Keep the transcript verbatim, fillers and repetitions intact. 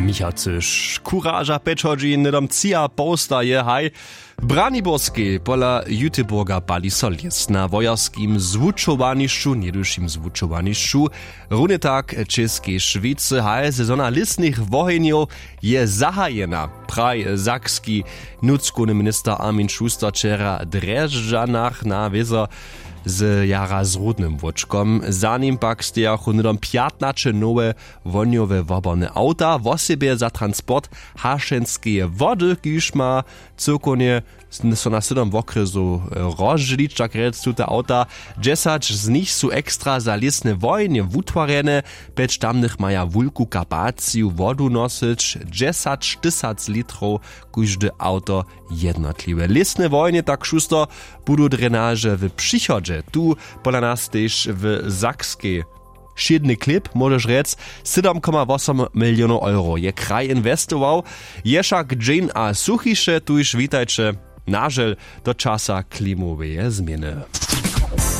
Michał cyš kuraža pjeć hodźin hnydom tři a poł staje haj. W braniborskej pola juteburga pali so lěs na wojerskim zwučowanišću něhdyšim zwučowanišću. Runje tak w českej šwicy haj sezona lěsnych wohenjow je zahajena, praj sakski nutřkowny minister armin schuster wčera w drježdźanach na wězo z jara z rudnym wóčkom. Za nim pak stejachu hnydom pjatnaće nowe wohnjowe woborne awta wosebje za transport hašenskeje wody kiž ma cyłkownje so na sydom wokrjesow rozdźělić tak rjec tute awta. Dźesać z nich su ekstra za lěsne wojenje wutwarjene. Pjeć tamnych maja wulku kapaciju wodu nosyć dźesaćtysac litrow kóžde awto. Jednotliwe lěsne wojenje tak šuster budu drenaže w přichodźe tu pola nas tež w sakskej. Wšědny klěp móžeš rjec. Sydom koma wosom milionow euro je kraj inwestował. Je wšak dźeń a suchiše tuž witajće. Nažel do časa klimoweje změny.